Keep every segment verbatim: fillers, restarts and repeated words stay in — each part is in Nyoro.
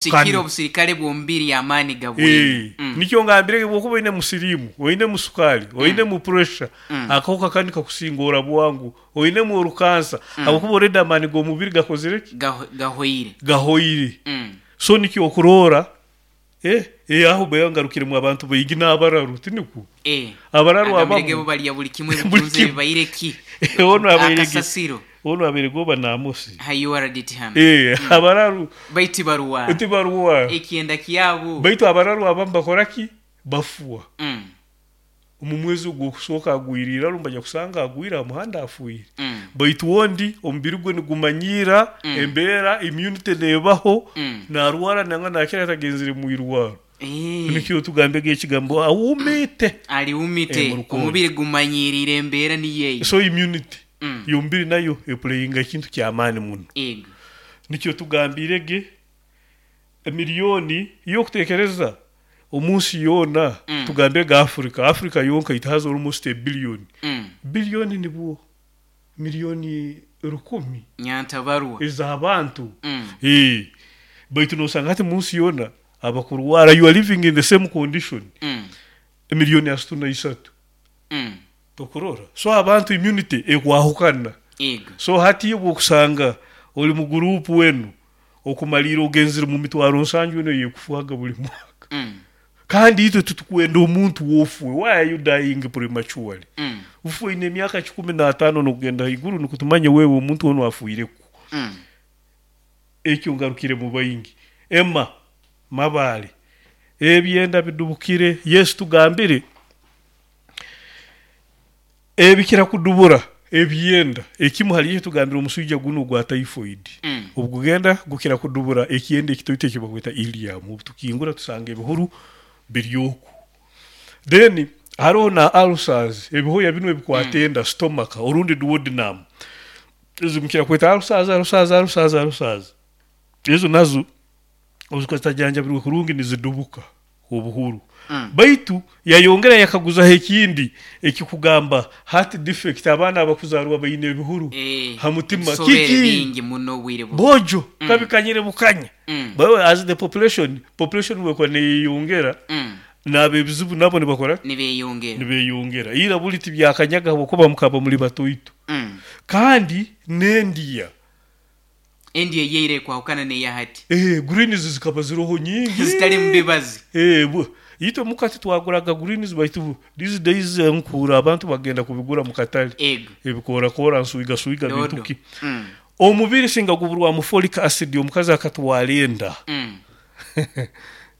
Sikira obusirikale bw'omubiri amaani gabwine. Eh, Mm. Nikyo ngambire bwokuba oine musirimu, oine musukali, oine mu pressure, Mm. akahuka kani kakusinga ora bwangu, oinemu orukansa, habwokuba already amaani g'omubiri gakozire ki? Gaho- gahoire. Gahoire. Mm. So nikyo okuroora, eh, eh, aho bwe ngarukiremu abantu baingi n'abararu, tinikwo? Eh. Abararu Agambire abamu bo balya buli kimwe, Buli bitunze kimwe. bibaire ki? Ono abaire ge- Akasasiro. Ono abaire goba n'Amosi. Ha U R D T hano. Eh, abararu Baiti baruwa. Tibaruwa. Ekyenda kyabo. Baitu abararu abamu bakora ki? Bafuwa. Mm. Omu mwezi ogw'okusooka agwire iraro, mbajya kusanga agwire aha muhanda, afuire. Mm. Baitu ondi omubiri gwe nigumanyiira Mm. embeera, immunity neebaho, Mm. narwara nangwa nakira atagenzere mu irwaro. Eh. Nikyo tugambege ekigambo awumite. Ali Eh, mu umite. rukundo. Omubiri gumanyirire embeera niyeyo. So immunity Mm. y'omubiri nayo eplayinga ekintu kyamaani muno. Ego. Nikyo tugambirege emiliyoni y'okutekereza omunsi yoona. Mm. Tugambege Africa, Africa yonka it has almost a billion. Mm. Biliyoni nibwo miliyoni rukumi Nyantabarwa. ez'abantu. Mm. Eh, baitu nosanga hati munsi yoona abakurwara, you are living in the same condition, Mm. emiliyoni asatu na isatu. Mm. Tokurora, so abantu immunity ekwahukana. Ego. So hati bwokusanga oli mu gurupu wenu okumalira ogenzere mu mitwaro nsanju eno yekufuhaga buli mwaka. Mm. Kandi itwe tutukwenda omuntu wofue. Why are you dying prematurely? Mm. Ufuine emyaka kikumi n'ataano nokugenda haiguru, nikutumanya wewe omuntu ono afuireku. Mm. Ekyo ngarukire mu baingi emma mabaale ebyenda bidubukire. Yesu tugambire ebikira kudubura ebyenda ekimu hali ekyo tugambire omuswija guno gwa typhoid. Mm. Obugenda gukira kudubura ekyenda ekitoito ekibakweta ilium. Obu tukingura tusanga ebihuru biryoku. Then hariho na ulcers, ebihoya binu ebikwata enda, stomach orundi duodenum. Ezo mukira kweta ulcers, ulcers, ulcers, ulcers. Ezo nazo ozikatajanjabirwe kurungi nizidubuka obuhuru. Mm. Baitu yayongera yakaguzaho ekindi ekikugamba heart defect, abaana abakuzarwa baine ebihuru Eh. ha mutima. Ebisobere Kiki? bingi muno obwire bu. Bojo kabikanyire bukanya. Mm. But as the population population wekwa neyeyongera, Mm. nabo ebizibu nabo nibakora Nibeyongera. Nibeyongera. Ira buli tibyakanyaga habwokuba mukaba muli batoito. Mm. Kandi nendiya. Endi eyeire kwahukana neya hati. eh, greens zikaba ziroho nyingi. Zitali mubibazi. eh, bu- itwe mukati twaguraga greens, baitu these days eh, nkuura abantu bagenda kubigura mu katale. Ego. Ebikorakora, nsuiga suiga. Dodo. Bintu ki? Mm. Omubiri singa guburwamu folic acid, omukazi akatwara enda, Mm.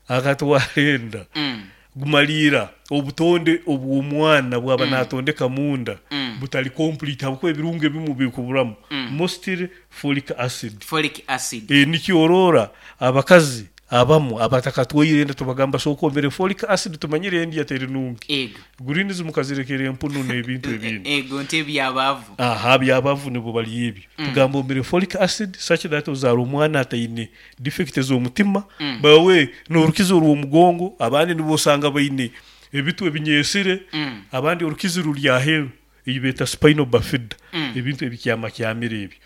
akatwara enda, Mm. gumaliira obutonde obw'omwana bwaba natondeka munda Mm. butali complete, habwokuba ebirungo ebimu bikuburamu, Mm. mostly folic acid. Folic acid. E, nikyorora abakazi abamu abatakatwaire enda tubagamba sooka omere folic acid, tumanyire endya teri nungi. Ego. Greens mukazirekera empunu n'ebintu ebindi. Ego nte ebyabavu. Aha, byabavu nibo bali ebyo. Tugamba omere folic acid such that ozaara omwana ataine defect ez'omutima. Mm. Bawe n'orukizo orw'omugongo, abandi nibo osanga baine ebitu ebinyesire, Mm. abandi orukizi ruri aheeru, eyi beeta spinal bifida. Mm. Ebintu ebikyamakyamire ebyo,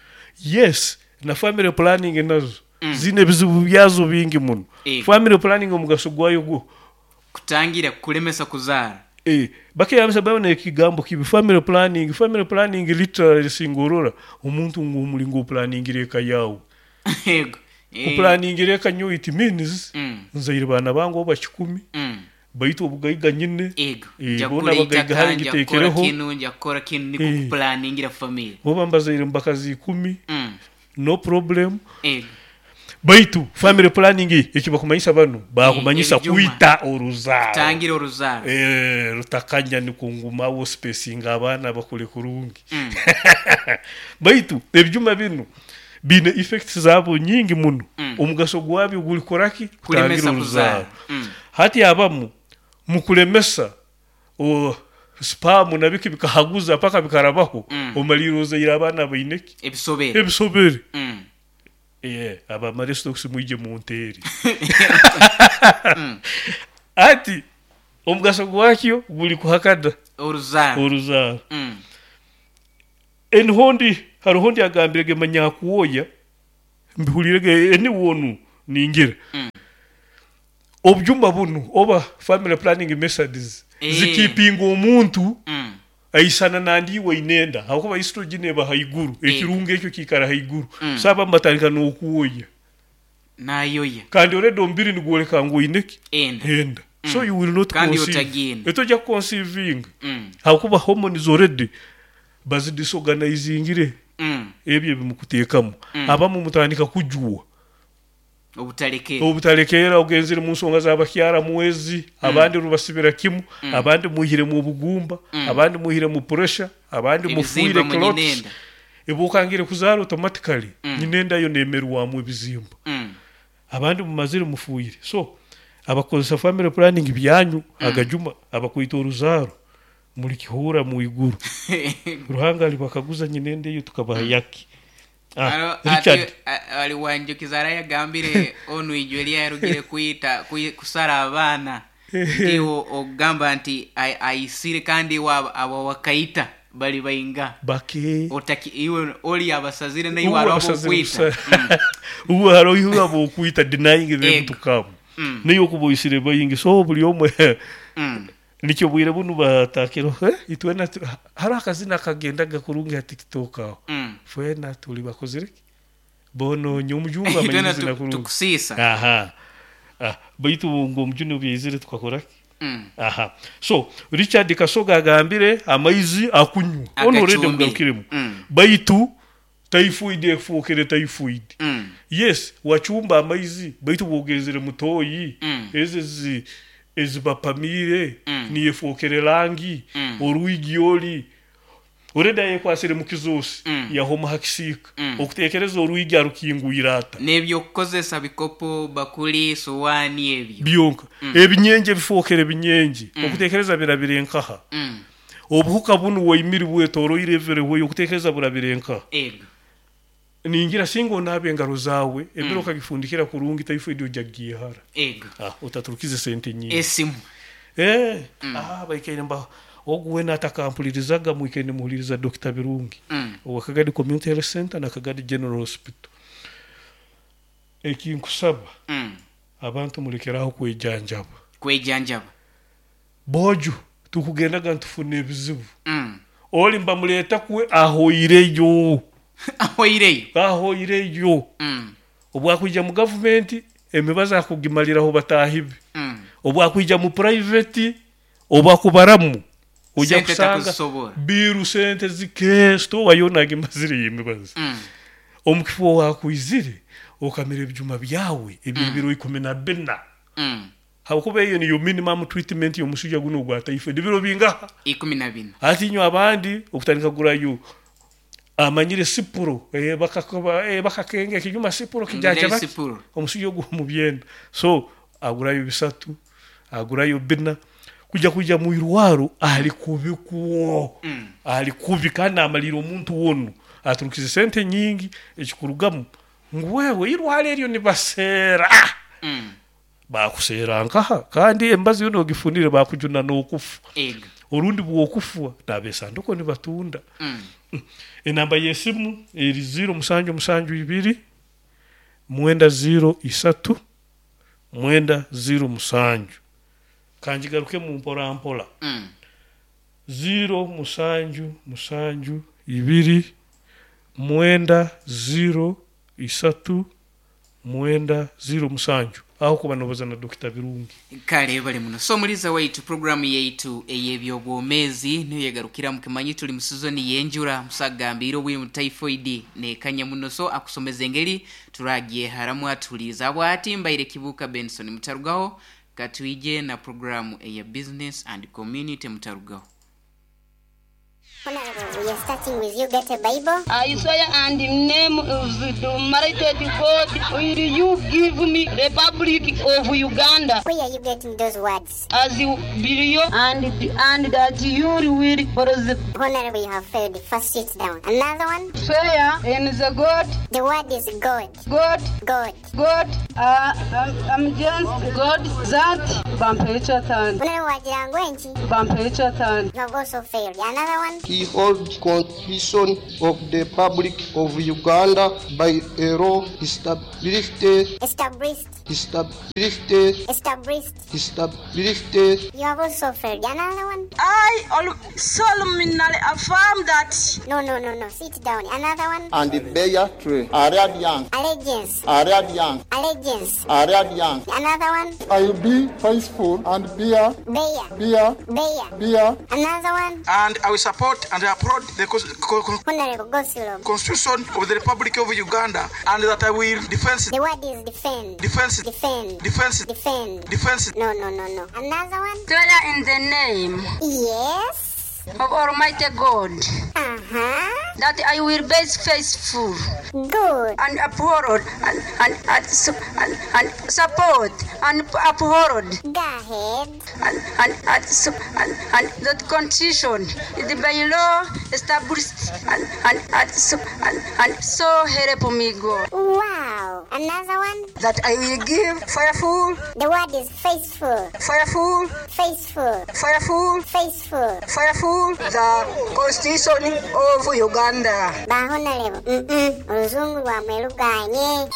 yes. Na family planning nazo Mm. zine ebizibu byazo bingi muno. Ego. Family planning omugaso gwayo gwo Kutangira kulemesa kuzaara. Eh, bakeyambisa babona ekigambo kibi, family planning. Family planning literally singorora omuntu ng'omulingo oplanningira eka yawe. Ego. Eh. Kuplanningira eka nyo, it means Mm. nzaire baana bange oba kikumi, Mm. baitu obugaiga nyine. Ego. Eh, Nja bona kugura abagaiga hari itaka, nja kukora ngitekereho. kinu, nja kukora kinu, niko Eh. kuplanningira family. Oba mbazaire mubakazi ikumi, Mm. no problem. Ego. Baitu family planning ekibakumanyisa bano bakumanyisa Ebijuma. kwita oruzaaro. Tangira oruzaaro. Eh, rutakanya nikungumawo spacinga abaana bakule kurungi. Mm. Baitu ebyuma binu biine effects zaabo nyingi muno. Mm. Omugaso gwabyo guli koraki? Kulemesa Kutangira kuzaara. oruzaaro. Mm. Hati abamu mukulemesa o sperm nabiki bikahaguza paka bikarabaho, Mm. omalira ozaire abaana baineki? Ebisobere. Ebisobere. Mm. Eh, abamarestox mwije munteeri. Ati omugaso gwakyo guli kuhakada Oruzaaro. Oruzaaro. Mm. Enihondi hariho ndi agambire ge manyakuwoya mbihulire ge eniwonu ningira. Mm. Obubyuma bunu oba family planning methods Eh. zikipinga omuntu Mm. aisana nandiwe inenda hakuba estrogen eba haiguru, Eh. ekirungo ekyo kiikara haiguru. Mm. So abamu batandika n'okwoya. Nayoya. Kandi already omubiri nigworeka ngu oineki enda. Enda, so you will not Kandi conceive. otagenda. Etojja kuconceivinga Mm. hakuba hormones already bazidisorganizingire. Mm. Ebyo ebimukuteekamu, abamu mutandika kujuwa. Obutalekera. Obutalekera, ogenzere mu nsonga z'abakyara mwezi, abandi rubasibira kimu, abandi muhire mu bugumba, abandi muhire mu pressure, abandi mufuire ebizimba mu clots. nyinenda. Ebukangire kuzaara automatically nyinenda yo nemerwamu ebizimba. Mm. Abandi mumazire mufuire. So abakozesa family planning byanyu agajuma abakwita oruzaaro muli kihura mu iguru, Ruhanga alibakaguza nyinenda eyo tukabaha yaki. Ah, Aro- Richard. ati- a- ali wanjukiza arayagambire onu ijwe lyarugire kwita kwi- kusara abaana nti ogamba nti ai- aisire kandi wa- abo wakaita bali bainga bake. Otaki iwe oli abasazire naiwe Ubu aro abasazire abokwita. busa- ubu hariho abokwita denying them Ego. to come. Mm. Niyo okuba oisire bayingi, so buli omwe Mm. nikyo bwire bunu batakiro, eh, itwena tu- hariho akazina kagendaga kurungi ha TikTok aho. Mm. Fwena tuli bakozire ki bononye omujungu Itwena amanyizina tu- kurungi. Tukusiisa. Aha, ah, baitu ngu omujuni obyaizire tukakora ki? Mm. Aha, so Richard Kasoga agambire amaizi akunywa ono already Agacumbire. mugarukiremu. Mm. Baitu typhoid efuukire typhoid. Mm. Yes, wachumba amaizi, baitu bwogenzere mutoyi Mm. ezi ezi ezibapamire Mm. niyefuukire rangi. Mm. Orwigi oli already ayekwasire mu kizosi, Mm. yahoma hakisiika. Mm. Okutekereza orwigi arukingwire ata? N'ebyokukozesa, bikopo, bakuli, suwaani ebyo. Byonka ebinyenje bifuukire binyenje, okutekereza birabire nkaha? Mm. Obuhuka bunu waimiri bwetoroire everywhere, okutekereza burabire nkaha? Ego. Ningira singa onaaba engaro zawe ebiro okagifundikira kurungi, typhoid ojja kugihara. Ego. Ah, otaturukize sente nyingi. Esimu. Eh, ah, baikaire mba ogu wena atakampulirizaga, mwikaire nimuhuliriza Doctor Birungi Mm. owa Kagadi Community Health Center na Kagadi General Hospital. Ekinkusaba, Mm. abantu mulekeraho kwejanjaba. Kwejanjaba. Bojo tukugendaga ntufuna ebizibu. Mm. Oli mbamuleta kwe ahoireyo. Ahoireyo. Ahoireyo. Mm. Obwakwija mu gavumenti emibazi akugimaliraho batahibe. Mm. Obwakwija mu private obakubaramu ojja Sente kusanga takuzisobola. Biru sente zike store yona agimazire emibazi. Mm. Omukifo wakwizire okamira ebyuma byawe ebyebiro ikumi na bina. Mm. Hakuba eyo niyo minimum treatment y'omusujja guno ogwa typhoid, biro bingaha? Ikumi na bina. Ati inywe abandi okutandika kugurayo amanyire sipuro, eh, bakakuba, eh, bakakenga ekinyuma sipuro kijaja baki. Sipuro. Omusujja ogwo mu byenda, so agurayo bisatu, agurayo bina, kujja kujja mu irwaro ali kubi kuwo. Mm. Ali kubi kandi amalira omuntu wono aturukize sente nyingi, ekikurugamu ngu wewe irwaro eryo nibaseera. Mm. Bakuseera nkaha? Kandi embazi yono ogifunire bakujuna n'okufa. Ego. Orundi bwokufa nabesanduko nibatunda. Mm. Enamba y'esimu eri ziro musanju musanju ibiri mwenda ziro isatu mwenda ziro musanju. Kanjigaruke mu mpora mpora. Mm. Ziro musanju musanju ibiri mwenda ziro isatu mwenda ziro musanju, aho kuba nobaza na Doctor Birungi. Kale bali muno. So muliza waitu, programu yaitu ey'ebyobwomeezi niyo yegarukira. Mukimanyi tuli mu sizoni y'enjura, musagambire obwire mu typhoid nekanya muno, so akusomeza engeri turagyeharamu. Atuhuliriza bwati mbaire Kibuka Benson. Mutarugaho, katwije na programu eya business and community. Mutarugaho. Honorable, we are starting with you. Get a Bible. I swear and in name of the Almighty God, will you give me Republic of Uganda? Where are you getting those words? As you believe and and that you will for the Honorable, you have failed. First, sit down. Another one. swear in the God. The word is God. God. God. God, uh, I'm, I'm just God that Bampaire ekyataano. Honorable Wajirangwenchi. Bampaire ekyataano. You have also failed. Another one. He holds Constitution of the Republic of Uganda by a law established, Established. established, Established. established. You have also failed. Another one. I al- solemnly affirm that No, no, no, no. Sit down. Another one. And bear tree. Aradian, Allegiance. Aradian, Allegiance. Aradian. Another one. I will be faithful and bear, Bear. bear, Bear. bear. Another one. And I will support and applaud the cons- co- con- Honorable Gosulom. Constitution of the Republic of Uganda, and that I will defend, The word is defend. defend, Defend. defend, Defend. defend. No, no, no, no. Another one. swear in the name Yes. of Almighty God Uh-huh. that I will be faithful Good. and uphold and and and, su- and, and support and uphold Go ahead. and and and, su- and, and the Constitution is by law established and and and, su- and, and so help me God. Wow. Another one. That I will give fireful, The word is faithful. fireful, Faithful. fireful, Faithful. fireful the Constitution of Uganda. Ba honorable. Mm-mm. Oluzungu lwamwe luganye.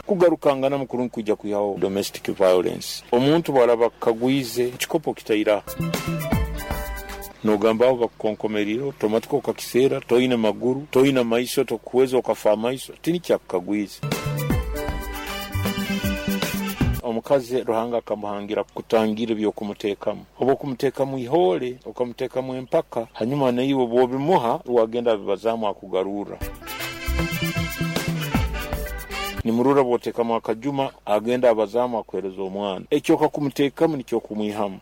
Kugarukangana mukuru nkujja kuyawo domestic violence. Omuntu bw'alaba kagwize ekikopo kitaira nogamba abo bakukonkomerire otomatika okakiseera toyina maguru toyina maiso tokuweza okafa amaiso tini kyakukagwize. Omukazi Ruhanga akamuhangira kutangira ebyokumuteekamu, oba okumuteekamu ihoole okamuteekamu empaka, hanyuma naiwe bw'obimuha wagenda abibazaamu akugarurra. Nimurura bw'oteekamu akajuma agenda abazaamu akuhereza omwana. Ekyo okakumuteekamu nikyo okumwihamu.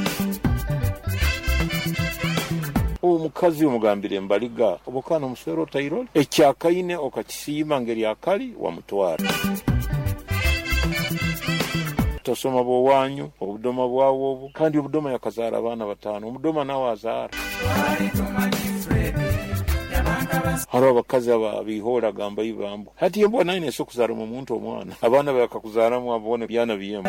Omukazi omugambire embaliga oba okaana omuswera otairole ekyakaine okakisiima ngeri akali wamutwara. Tosoma bwowanyu obudoma bwawo obwo, kandi obudoma yakazaara abaana bataano, omudoma nawe azaara. Hariho abakazi aba bihoora agamba ibambu hati embwa naine ese okuzaaramu omuntu omwana abaana bakakuzaaramu abone byana byemu.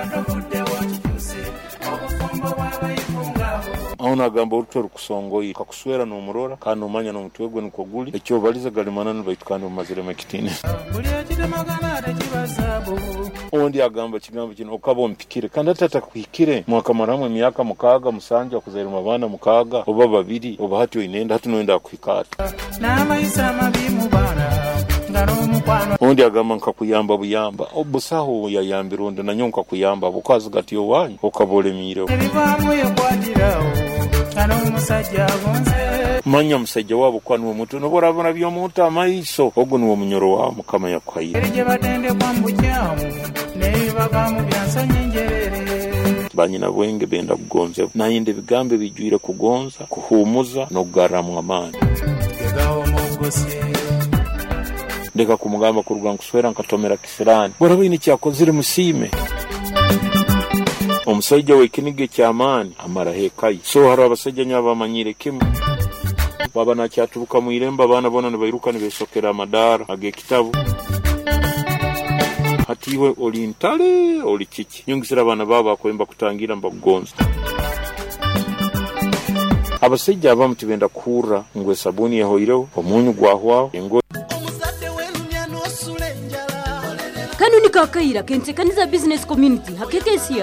Aho nagamba oruto rukusongoire kakuswera n'omurora kandi nomanya n'omutwe gwe nikwo guli ekyobaliza gali mananu baitu kandi omumaziremu ekitiinisa. Ondi agamba kigambo kino okaba ompikire kandi ati atakuhikire mwakamaramu emyaka mukaaga musanju akuzairemu abaana mukaaga oba babiri oba hati oinenda hati noyenda akuhika ati. Ondi agamba nkakuyamba buyamba obusaho yayambira ondi nanyo nkakuyamba bukazi gati owanyu okaba olemiireho. Manya musajja waabo kuba niwe muntu noba orabona by'omuntu amaiso ogwo niwe munyoro wawe Mukama yakuhaire. Banyina bwenge benda kugonzebwa nayenda ebigambo ebijwire kugonza kuhumuza n'okugarramu amaani. Ndeka kumugamba kuruga nkuswera nkatomera kisirani bworaba oine ekyakozire musiime. Omusajja w'ekiniga eky'amaani amaraho ekaye. So hariho abasajja nyo abamanyire kimu baba nakyaturuka mu irembo abaana boona nibairuka nibesokera amadaara ag'ekitabu. Hati iwe oli ntale oli kiki nyongesera abaana baabo bakwemba kutangira mbakugonza. Abasajja abamu tibenda kuhurra ngu esabuni ehoireho omunyu gwahwaho engo. Kano ni kakaira kentekaniza business community hakekesiya.